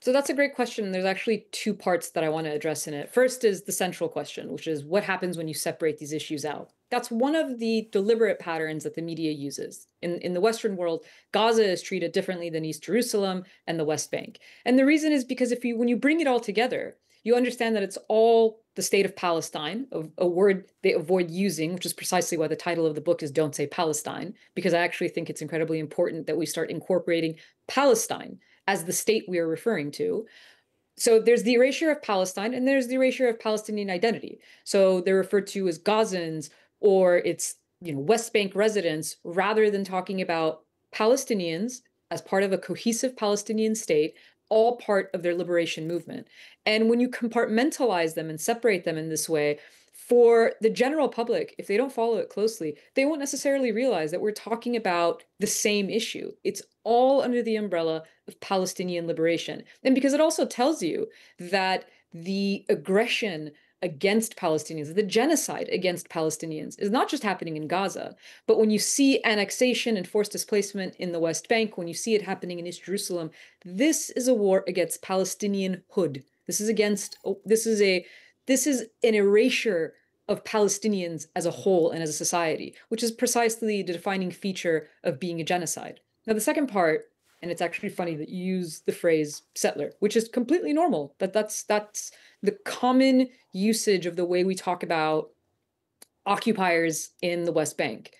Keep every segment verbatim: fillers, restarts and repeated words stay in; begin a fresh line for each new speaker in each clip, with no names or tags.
So that's a great question. There's actually two parts that I want to address in it. First is the central question, which is what happens when you separate these issues out? That's one of the deliberate patterns that the media uses. In, in the Western world, Gaza is treated differently than East Jerusalem and the West Bank. And the reason is because if you when you bring it all together, you understand that it's all the state of Palestine, a, a word they avoid using, which is precisely why the title of the book is Don't Say Palestine, because I actually think it's incredibly important that we start incorporating Palestine as the state we are referring to. So there's the erasure of Palestine and there's the erasure of Palestinian identity. So they're referred to as Gazans or it's, you know, West Bank residents rather than talking about Palestinians as part of a cohesive Palestinian state, all part of their liberation movement. And when you compartmentalize them and separate them in this way, for the general public, if they don't follow it closely, they won't necessarily realize that we're talking about the same issue. It's all under the umbrella of Palestinian liberation. And because it also tells you that the aggression against Palestinians, the genocide against Palestinians is not just happening in Gaza, but when you see annexation and forced displacement in the West Bank, when you see it happening in East Jerusalem, this is a war against Palestinianhood. This is against, this is a, this is an erasure of Palestinians as a whole and as a society, which is precisely the defining feature of being a genocide. Now, the second part, and it's actually funny that you use the phrase settler, which is completely normal. That that's that's the common usage of the way we talk about occupiers in the West Bank.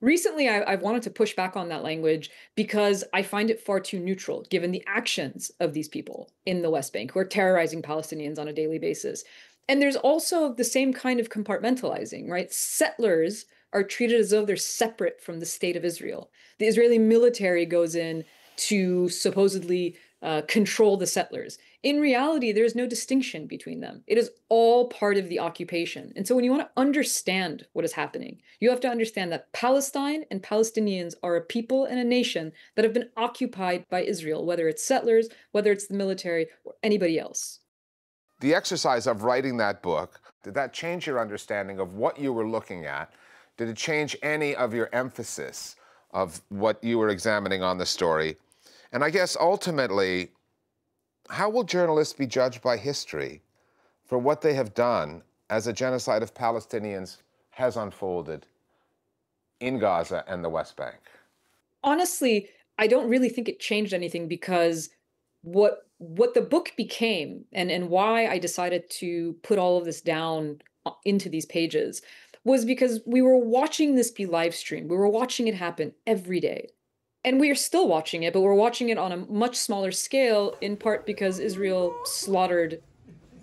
Recently, I, I've wanted to push back on that language because I find it far too neutral, given the actions of these people in the West Bank who are terrorizing Palestinians on a daily basis. And there's also the same kind of compartmentalizing, right? Settlers are treated as though they're separate from the state of Israel. The Israeli military goes in to supposedly uh, control the settlers. In reality, there is no distinction between them. It is all part of the occupation. And so when you want to understand what is happening, you have to understand that Palestine and Palestinians are a people and a nation that have been occupied by Israel, whether it's settlers, whether it's the military, or anybody else.
The exercise of writing that book, did that change your understanding of what you were looking at? Did it change any of your emphasis of what you were examining on the story? And I guess ultimately, how will journalists be judged by history for what they have done as a genocide of Palestinians has unfolded in Gaza and the West Bank?
Honestly, I don't really think it changed anything because what what the book became and, and why I decided to put all of this down into these pages was because we were watching this be live streamed. We were watching it happen every day. And we are still watching it, but we're watching it on a much smaller scale, in part because Israel slaughtered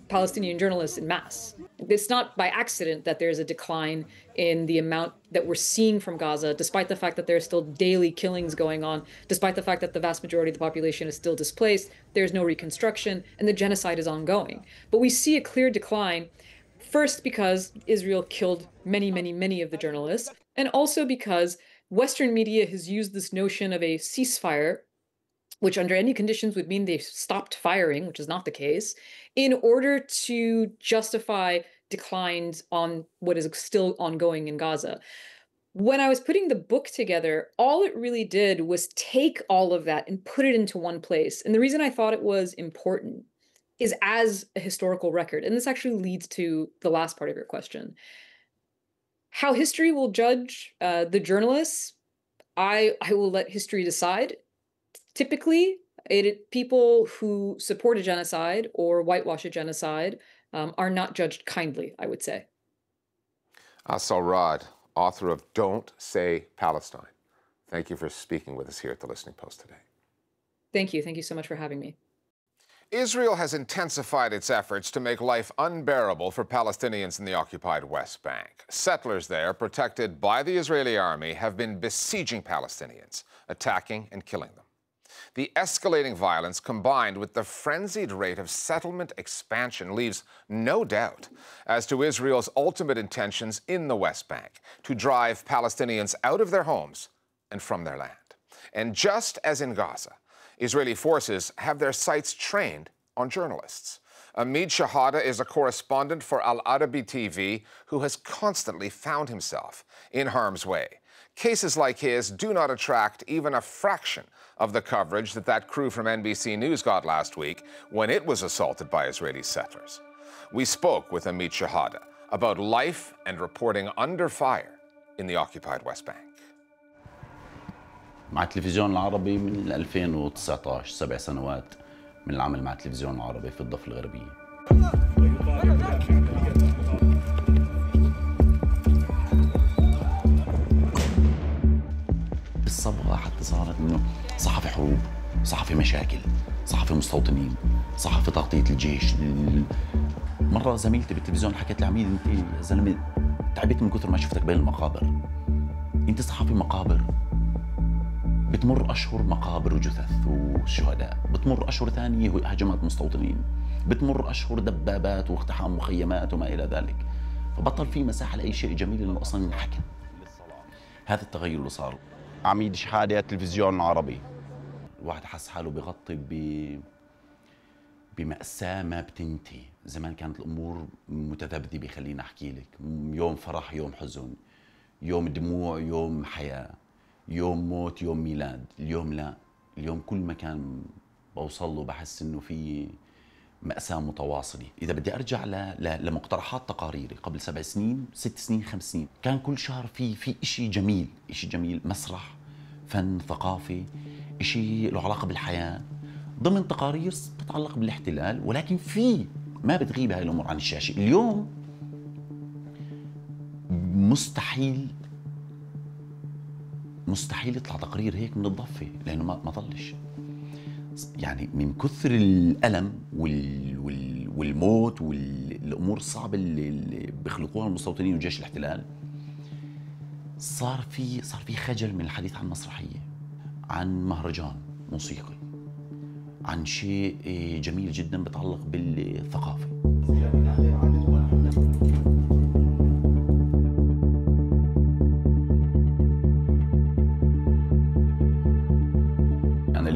Palestinian journalists in mass. It's not by accident that there's a decline in the amount that we're seeing from Gaza, despite the fact that there are still daily killings going on, despite the fact that the vast majority of the population is still displaced, there's no reconstruction, and the genocide is ongoing. But we see a clear decline, first because Israel killed many, many, many of the journalists, and also because Western media has used this notion of a ceasefire, which under any conditions would mean they stopped firing, which is not the case, in order to justify declines on what is still ongoing in Gaza. When I was putting the book together, all it really did was take all of that and put it into one place. And the reason I thought it was important is as a historical record. And this actually leads to the last part of your question. How history will judge uh, the journalists, I, I will let history decide. Typically, it, people who support a genocide or whitewash a genocide um, are not judged kindly, I would say.
Asal Rad, author of Don't Say Palestine. Thank you for speaking with us here at the Listening Post today.
Thank you. Thank you so much for having me.
Israel has intensified its efforts to make life unbearable for Palestinians in the occupied West Bank. Settlers there, protected by the Israeli army, have been besieging Palestinians, attacking and killing them. The escalating violence, combined with the frenzied rate of settlement expansion, leaves no doubt as to Israel's ultimate intentions in the West Bank, to drive Palestinians out of their homes and from their land. And just as in Gaza, Israeli forces have their sights trained on journalists. Amid Shahada is a correspondent for Al Arabi T V who has constantly found himself in harm's way. Cases like his do not attract even a fraction of the coverage that that crew from N B C News got last week when it was assaulted by Israeli settlers. We spoke with Amit Shahada about life and reporting under fire in the occupied West Bank.
مع التلفزيون العربي من ألفين وتسعة عشر، سبع سنوات من العمل مع التلفزيون العربي في الضفة الغربية. الصبغة حتى صارت انه صحفي حروب، صحفي مشاكل، صحفي مستوطنين، صحفي تغطية الجيش. مرة زميلتي بالتلفزيون حكت لي: عميد انت يا زلمة تعبت من كثر ما شفتك بين المقابر. انت صحفي مقابر، بتمر اشهر مقابر وجثث وشهداء، بتمر اشهر ثانيه هجمات مستوطنين، بتمر اشهر دبابات واقتحام مخيمات وما الى ذلك. فبطل في مساحه لاي شيء جميل انه اصلا ينحكى. هذا التغير اللي صار. عميد شحاده التلفزيون العربي. الواحد حس حاله بغطي ب بمأساة ما بتنتهي. زمان كانت الامور متذبذبه، خليني احكي لك، يوم فرح يوم حزن، يوم دموع يوم حياه، يوم موت يوم ميلاد. اليوم لا، اليوم كل مكان بوصل له بحس انه في مأساة متواصلة. إذا بدي أرجع ل... ل... لمقترحات تقاريري قبل سبع سنين، ست سنين، خمس سنين، كان كل شهر في في شيء جميل، شيء جميل، مسرح، فن، ثقافة، شيء له علاقة بالحياة، ضمن تقارير تتعلق بالاحتلال، ولكن في ما بتغيب هاي الأمور عن الشاشة. اليوم مستحيل مستحيل يطلع تقرير هيك من الضفة، لأنه ما ما ضلش. يعني من كثر الألم وال وال والموت والأمور الصعبة اللي, اللي بيخلقوها المستوطنين وجيش الاحتلال، صار في صار في خجل من الحديث عن مسرحية، عن مهرجان موسيقي، عن شيء جميل جدا بيتعلق بالثقافة.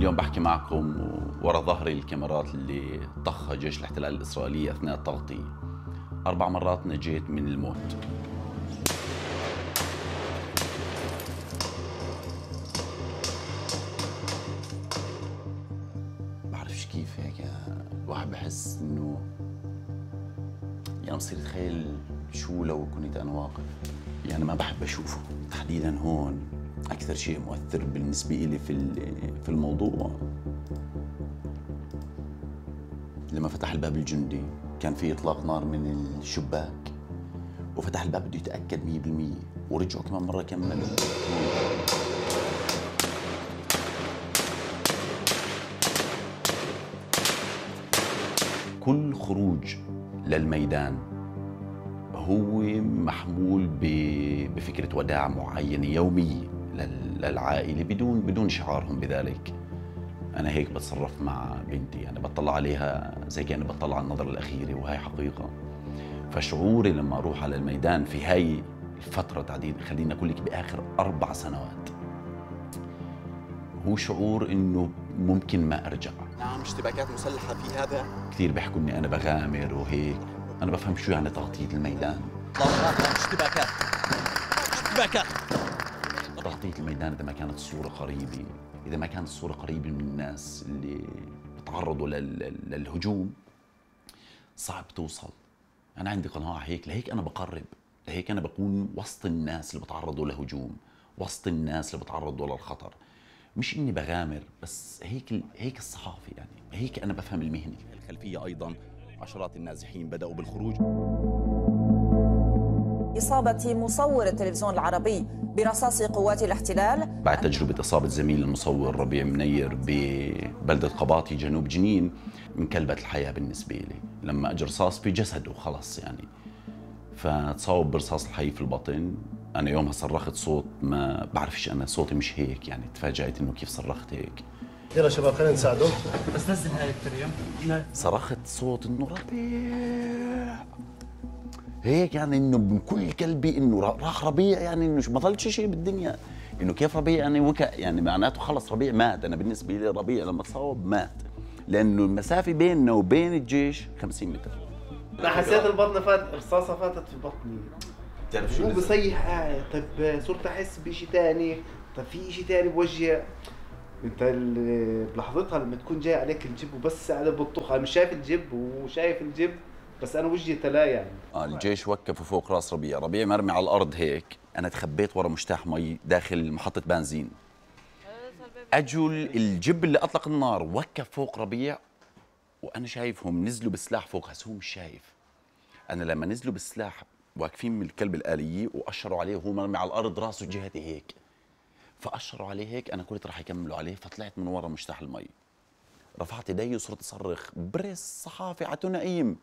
اليوم بحكي معكم ورا ظهري الكاميرات اللي طخها جيش الاحتلال الإسرائيلي أثناء التغطية. أربع مرات نجيت من الموت. بعرفش كيف هيك الواحد بحس إنه يعني بصير أتخيل شو لو كنت أنا واقف. يعني ما بحب أشوفه تحديداً هون. أكثر شيء مؤثر بالنسبة لي في في الموضوع لما فتح الباب الجندي، كان في إطلاق نار من الشباك، وفتح الباب بده يتأكد مية بالمية، ورجعوا كمان مرة كملوا. كل خروج للميدان هو محمول بفكرة وداع معينة يومية للعائلة بدون بدون شعارهم بذلك. أنا هيك بتصرف مع بنتي، يعني بطلع عليها زي كأني بطلع على النظرة الأخيرة، وهي حقيقة. فشعوري لما أروح على الميدان في هاي الفترة تحديدا، خليني أقول لك بآخر أربع سنوات، هو شعور إنه ممكن ما أرجع.
نعم، اشتباكات مسلحة في هذا.
كثير بيحكوا إني أنا بغامر وهيك، أنا بفهم شو يعني تغطية الميدان.
اشتباكات اشتباكات
تغطية الميدان إذا ما كانت الصورة قريبة، إذا ما كانت الصورة قريبة من الناس اللي بتعرضوا للهجوم، صعب توصل. أنا عندي قناعة هيك، لهيك أنا بقرب، لهيك أنا بكون وسط الناس اللي بتعرضوا لهجوم، وسط الناس اللي بتعرضوا للخطر. مش إني بغامر، بس هيك هيك الصحافة، يعني هيك أنا بفهم المهنة.
الخلفية أيضاً عشرات النازحين بدأوا بالخروج.
إصابة مصور التلفزيون العربي برصاص قوات الاحتلال
بعد تجربة إصابة زميل المصور ربيع منير ببلدة قباطي جنوب جنين، انقلبت الحياة بالنسبة لي لما أجى رصاص في جسده خلص يعني. فتصاوب برصاص الحي في البطن. أنا يومها صرخت صوت ما بعرفش، أنا صوتي مش هيك يعني، تفاجأت إنه كيف صرخت هيك.
يلا شباب خلينا نساعده.
بس نزل هاي التريم.
صرخت صوت إنه ربيع هيك، يعني إنه من كل قلبي إنه راح ربيع، يعني إنه ما ضلش شيء بالدنيا. إنه كيف ربيع يعني وكا يعني معناته خلص ربيع مات. أنا بالنسبة لي ربيع لما تصاوب مات، لأنه المسافة بيننا وبين الجيش خمسين متر.
أنا حسيت البطن فات، رصاصة فاتت في بطني.
بتعرف شو
مو بصيح قاعد. طيب صرت أحس بشيء ثاني، طيب في شيء ثاني بوجهي. انت اللي بلحظتها لما تكون جاي عليك الجب وبس انا بطخ، انا مش شايف الجب وشايف الجب بس انا وجهي تلا يعني.
آه الجيش وقفوا فوق راس ربيع، ربيع مرمي على الارض هيك، انا تخبيت ورا مجتاح مي داخل محطه بنزين. اجوا الجب اللي اطلق النار وقف فوق ربيع وانا شايفهم نزلوا بالسلاح فوق، هسه هو مش شايف. انا لما نزلوا بالسلاح واقفين من الكلب الآلية واشروا عليه وهو مرمي على الارض راسه جهتي هيك، فاشروا عليه هيك، انا قلت راح يكملوا عليه، فطلعت من ورا مجتاح المي، رفعت يدي وصرت اصرخ بريس صحافي عتو نقيم.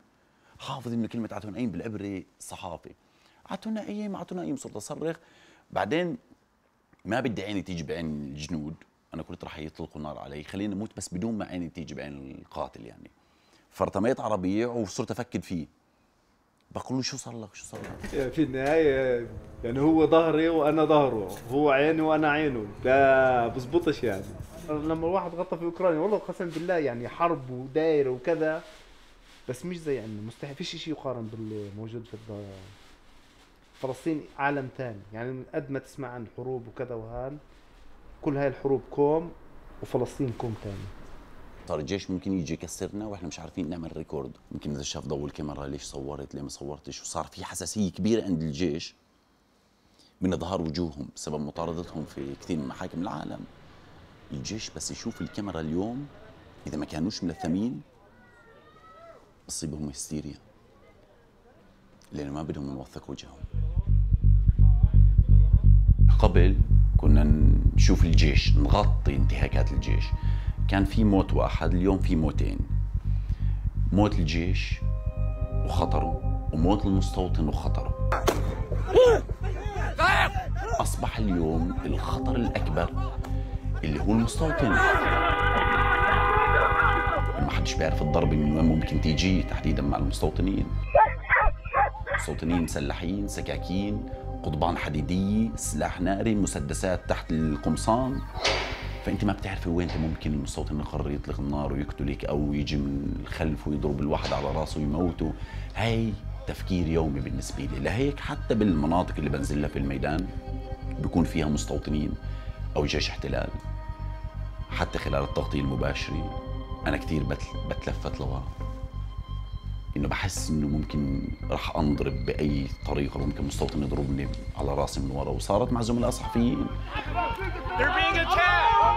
حافظ انه كلمه عتو نقيم بالعبري صحافي، عتو نقيم عتو نقيم، صرت اصرخ. بعدين ما بدي عيني تيجي بعين الجنود، انا قلت راح يطلقوا نار علي، خليني اموت بس بدون ما عيني تيجي بعين القاتل يعني. فارتميت على ربيع وصرت افكد فيه، بقول له شو صار لك شو صار لك؟
في النهايه يعني هو ظهري وانا ظهره، هو عيني وانا عينه، ده بزبطش يعني. لما الواحد غطى في اوكرانيا والله قسم بالله يعني حرب ودايره وكذا، بس مش زي عندنا، مستحيل فيش شيء يقارن باللي موجود في فلسطين. عالم ثاني يعني، قد ما تسمع عن حروب وكذا وهان، كل هاي الحروب كوم وفلسطين كوم ثاني.
صار الجيش ممكن يجي يكسرنا واحنا مش عارفين نعمل ريكورد، ممكن اذا شاف ضوء الكاميرا ليش صورت ليه ما صورتش، وصار في حساسيه كبيره عند الجيش من اظهار وجوههم بسبب مطاردتهم في كثير من محاكم العالم. الجيش بس يشوف الكاميرا اليوم اذا ما كانوش ملثمين بصيبهم هستيريا، لانه ما بدهم نوثق وجههم. قبل كنا نشوف الجيش نغطي انتهاكات الجيش، كان في موت واحد، اليوم في موتين، موت الجيش وخطره وموت المستوطن وخطره. أصبح اليوم الخطر الأكبر اللي هو المستوطن. ما حدش بيعرف الضربة من وين ممكن تيجي تحديدا مع المستوطنين. مستوطنين مسلحين، سكاكين، قضبان حديدية، سلاح ناري، مسدسات تحت القمصان، فانت ما بتعرفي وين ممكن المستوطن يقرر يطلق النار ويقتلك او يجي من الخلف ويضرب الواحد على راسه ويموته. هاي تفكير يومي بالنسبه لي، لهيك حتى بالمناطق اللي بنزل لها في الميدان بيكون فيها مستوطنين او جيش احتلال، حتى خلال التغطيه المباشره انا كثير بتلفت لورا، انه بحس انه ممكن راح انضرب باي طريقه، ممكن مستوطن يضربني على راسي من ورا. وصارت مع زملاء صحفيين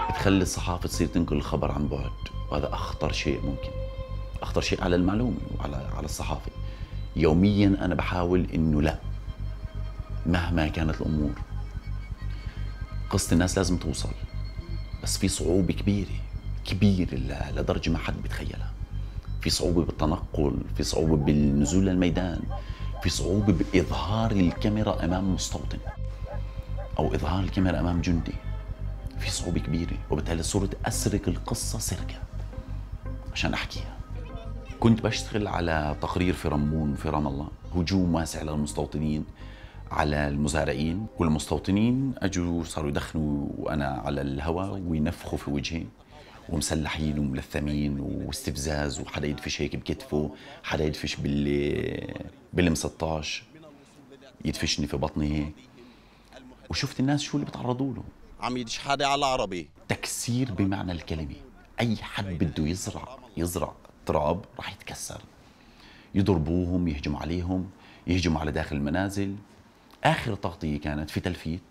تخلي الصحافه تصير تنقل الخبر عن بعد، وهذا اخطر شيء ممكن، اخطر شيء على المعلومه وعلى على الصحافه. يوميا انا بحاول انه لا، مهما كانت الامور قصه الناس لازم توصل، بس في صعوبه كبيره كبيره لدرجه ما حد بيتخيلها. في صعوبة بالتنقل، في صعوبة بالنزول للميدان، في صعوبة بإظهار الكاميرا أمام مستوطن أو إظهار الكاميرا أمام جندي، في صعوبة كبيرة، وبالتالي صرت أسرق القصة سرقة عشان أحكيها. كنت بشتغل على تقرير في رمون في رام الله، هجوم واسع للمستوطنين على المزارعين، والمستوطنين أجوا صاروا يدخنوا وأنا على الهواء وينفخوا في وجهي، ومسلحين وملثمين واستفزاز، وحدا يدفش هيك بكتفه، حدا يدفش بال بالام ستاشر يدفشني في بطني هيك. وشفت الناس شو اللي بتعرضوا له،
عم يدش حدا على عربي،
تكسير بمعنى الكلمه. اي حد بده يزرع يزرع تراب راح يتكسر، يضربوهم، يهجموا عليهم، يهجموا على داخل المنازل. اخر تغطيه كانت في تلفيت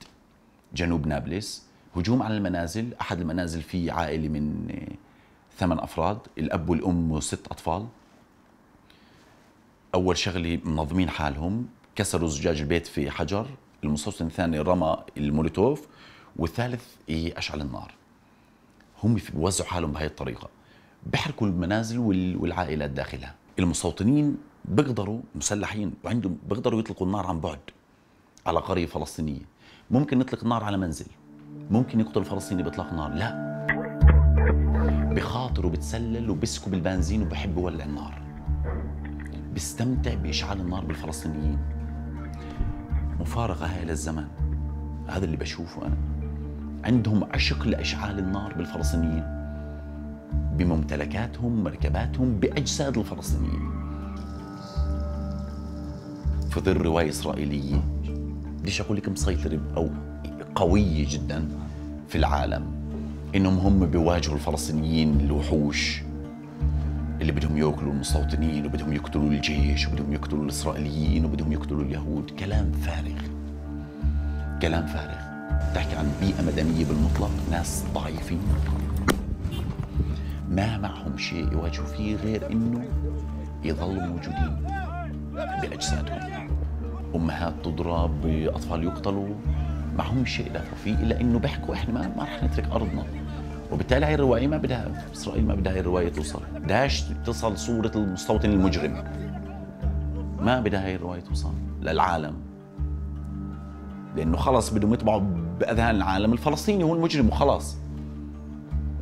جنوب نابلس، هجوم على المنازل، أحد المنازل فيه عائلة من ثمان أفراد، الأب والأم وست أطفال. أول شغلة منظمين حالهم، كسروا زجاج البيت في حجر، المستوطن الثاني رمى المولوتوف، والثالث أشعل النار. هم بيوزعوا حالهم بهاي الطريقة، بحركوا المنازل والعائلات داخلها. المستوطنين بيقدروا مسلحين وعندهم بيقدروا يطلقوا النار عن بعد على قرية فلسطينية. ممكن نطلق النار على منزل، ممكن يقتل فلسطيني بإطلاق نار، لا، بخاطر وبتسلل وبسكب البنزين وبحب يولع النار، بيستمتع بإشعال النار بالفلسطينيين. مفارقة هاي للزمن، هذا اللي بشوفه أنا. عندهم عشق لإشعال النار بالفلسطينيين، بممتلكاتهم، مركباتهم، بأجساد الفلسطينيين. في ظل رواية إسرائيلية بديش أقول لك مسيطرة أو قوية جدا في العالم، إنهم هم بيواجهوا الفلسطينيين الوحوش اللي بدهم ياكلوا المستوطنين وبدهم يقتلوا الجيش وبدهم يقتلوا الإسرائيليين وبدهم يقتلوا اليهود. كلام فارغ، كلام فارغ. تحكي عن بيئة مدنية بالمطلق، ناس ضعيفين ما معهم شيء يواجهوا فيه غير إنه يظلوا موجودين بأجسادهم. أمهات تضرب، أطفال يقتلوا، معهم شيء يدافعوا فيه إلا إنه بيحكوا إحنا ما, ما رح نترك أرضنا. وبالتالي هاي الرواية ما بدها، إسرائيل ما بدها هاي الرواية توصل، بدهاش تصل صورة المستوطن المجرم، ما بدها هاي الرواية توصل للعالم، لأنه خلص بدهم يطبعوا بأذهان العالم الفلسطيني هو المجرم وخلاص.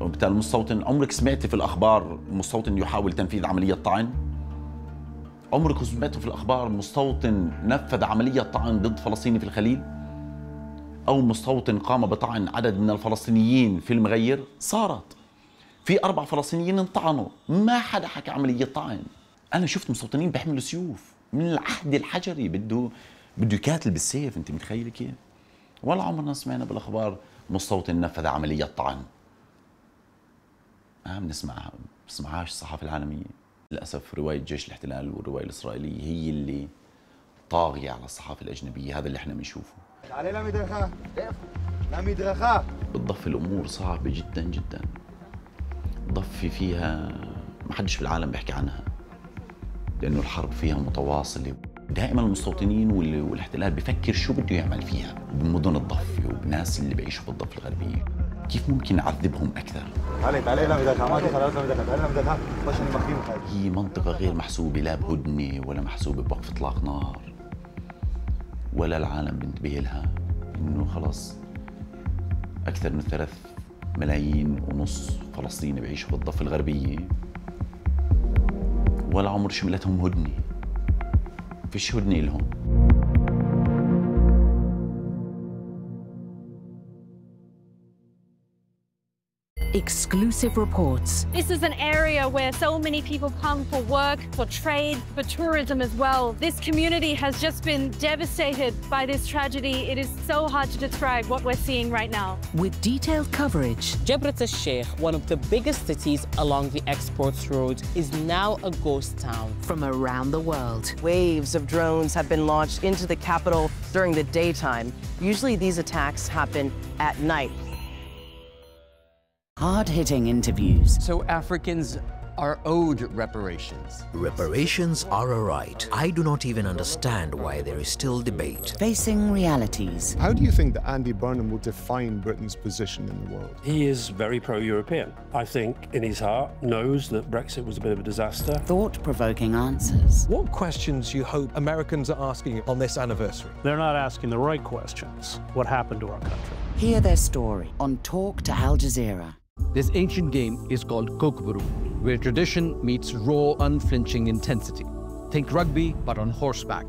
وبالتالي المستوطن، عمرك سمعتي في الأخبار مستوطن يحاول تنفيذ عملية طعن؟ عمرك سمعتوا في الأخبار مستوطن نفذ عملية طعن ضد فلسطيني في الخليل؟ أو مستوطن قام بطعن عدد من الفلسطينيين في المغير؟ صارت. في أربع فلسطينيين انطعنوا، ما حدا حكى عملية طعن. أنا شفت مستوطنين بيحملوا سيوف من العهد الحجري، بده بده يقاتل بالسيف، أنت متخيل كيف؟ ولا عمرنا سمعنا بالأخبار مستوطن نفذ عملية طعن. ما بنسمعها، بسمعهاش الصحافة العالمية. للأسف رواية جيش الاحتلال والرواية الإسرائيلية هي اللي طاغية على الصحافة الأجنبية، هذا اللي احنا بنشوفه. بتضفي الأمور صعبة جدا جدا، ضفي فيها ما حدش في العالم بيحكي عنها، لأنه الحرب فيها متواصلة. دائما المستوطنين والاحتلال بيفكر شو بده يعمل فيها بمدن الضفة وبناس اللي بيعيشوا في الضفة الغربية، كيف ممكن نعذبهم أكثر. هي منطقة غير محسوبة، لا بهدنة ولا محسوبة بوقف إطلاق نار، ولا العالم بينتبه لها. إنه خلص أكثر من ثلاث ملايين ونص فلسطيني بيعيشوا في الضفة الغربية، ولا عمر شملتهم هدنة، فيش هدنة لهم.
Exclusive reports.
This is an area where so many people come for work, for trade, for tourism as well. This community has just been devastated by this tragedy. It is so hard to describe what we're seeing right now.
With detailed coverage.
Jebret al-Sheikh, one of the biggest cities along the exports road, is now a ghost town.
From around the world.
Waves of drones have been launched into the capital during the daytime. Usually these attacks happen at night.
Hard-hitting interviews.
So Africans are owed reparations.
Reparations are a right. I do not even understand why there is still debate.
Facing realities.
How do you think that Andy Burnham will define Britain's position in the world?
He is very pro-European. I think in his heart knows that Brexit was a bit of a disaster.
Thought-provoking answers.
What questions do you hope Americans are asking on this anniversary?
They're not asking the right questions. What happened to our country?
Hear their story on Talk to Al Jazeera.
This ancient game is called Kokboru, where tradition meets raw, unflinching intensity. Think rugby, but on horseback.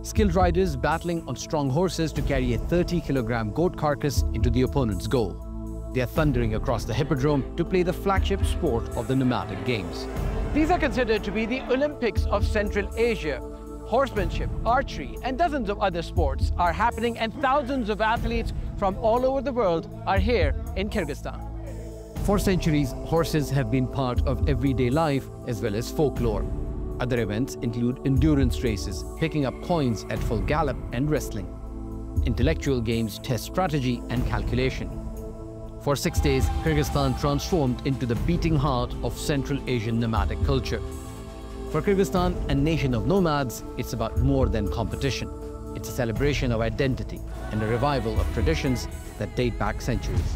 Skilled riders battling on strong horses to carry a thirty kilogram goat carcass into the opponent's goal. They are thundering across the hippodrome to play the flagship sport of the nomadic games.
These are considered to be the Olympics of Central Asia. Horsemanship, archery, and dozens of other sports are happening, and thousands of athletes from all over the world are here in Kyrgyzstan.
For centuries, horses have been part of everyday life as well as folklore. Other events include endurance races, picking up coins at full gallop, and wrestling. Intellectual games test strategy and calculation. For six days, Kyrgyzstan transformed into the beating heart of Central Asian nomadic culture. For Kyrgyzstan, a nation of nomads, it's about more than competition. It's a celebration of identity and a revival of traditions that date back centuries.